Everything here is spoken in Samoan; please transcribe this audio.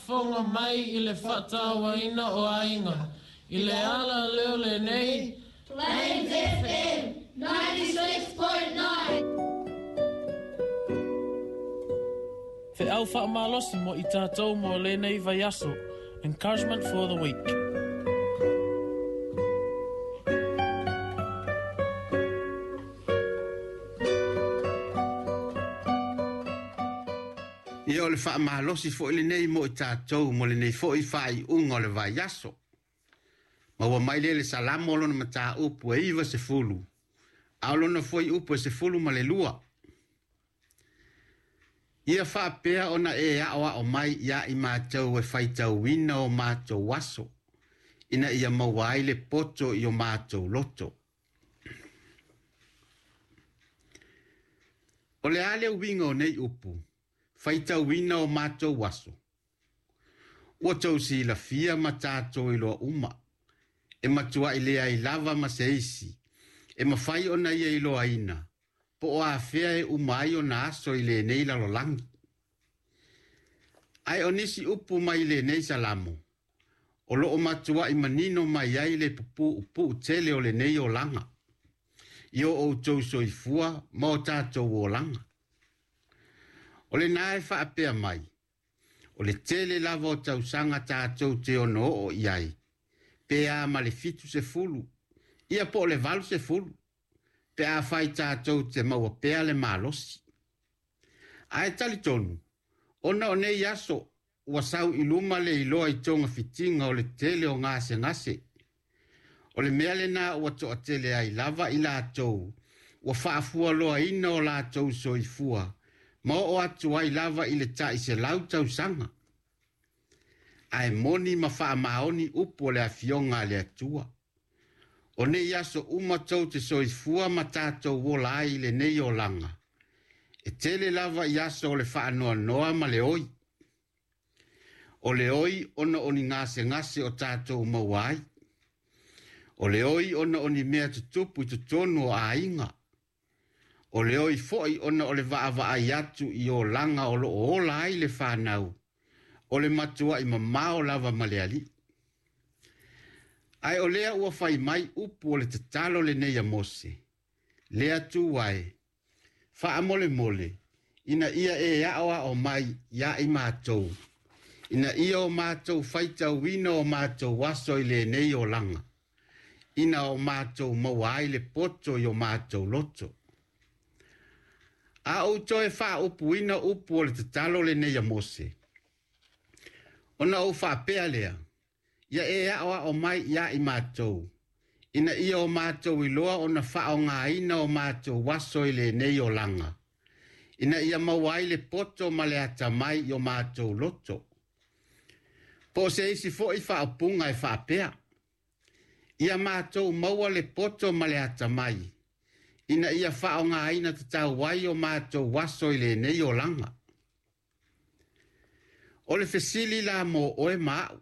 faafofoga mai i le faatauaina o aiga i le ala lea o lenei Plains FM 96.9. Feau faamalosi mo i tatou mo lenei vaiaso. Encouragement for the week. Ia o le faamalosi foi lenei mo i tatou mo lenei foi faaiuga o le vaiaso. Ma ua mai lea le Salamo o lona mataupu e 90, a o lona fuaiupu e 12. Ia faapea ona e aoao mai ia i matou e faitauina o matou aso, ina ia maua ai le poto i o matou loto. O le a le uiga o nei upu, faitauina o matou aso? Ua tou silafia ma tatou iloa uma, e matuai leai lava ma se isi, e mafai ona ia iloaina, po o afea e uma ai ona aso i lenei lalolagi. Ae o nisi upu mai lenei Salamo, o loo matuai manino mai ai le puupuu tele o lenei olaga, i o outou soifua ma o tatou olaga. O lena e faapea mai, o le tele lava o tausaga tatou te ono oo i ai, pe a ma le 70, ia po o le 80, pe a fai tatou te maua pea le malosi. Ae talitonu, ona o nei aso, ua sau i luma le iloa i togafitiga o le tele o gasegase. O le mea lena ua toatele ai lava i latou, ua faafualoaina o latou soifua, ma oo atu ai lava i le tai 100 tausaga. Ae moni ma faamaoni upu o le afioga a le Atua. O nei aso uma tou te soifua ma tatou ola ai i lenei olaga, e tele lava i aso o le faanoanoa ma le oi. O le oi ona o ni gasegase o tatou maua ai. O le oi ona o ni mea tutupu i totonu o aiga. O le oi foi ona o le vaavaai atu i olaga o loo ola ai le whanau, o le matuai mamao lava ma le alii. Ae o lea ua fai mai upu o le tatalo lenei a Mose, le Atua e, faamolemole, ina ia e aoao mai ia i matou, ina ia o matou faitauina o matou aso i lenei olaga, ina o matou maua ai le poto i o matou loto. A ou toe faaupuina upu o le tatalo lenei a Mose, ona ou faapea lea, ia e aoao mai ia i matou, ina ia o matou iloa ona faaaogaina o matou aso i lenei olaga, ina ia maua ai le poto ma le atamai i o matou loto. Po o se isi foi faaupuga e faapea, ia matou maua le poto ma le atamai, ina ia faaaogaina tatau ai o matou aso i lenei olaga. O le fesili la mo oe ma au,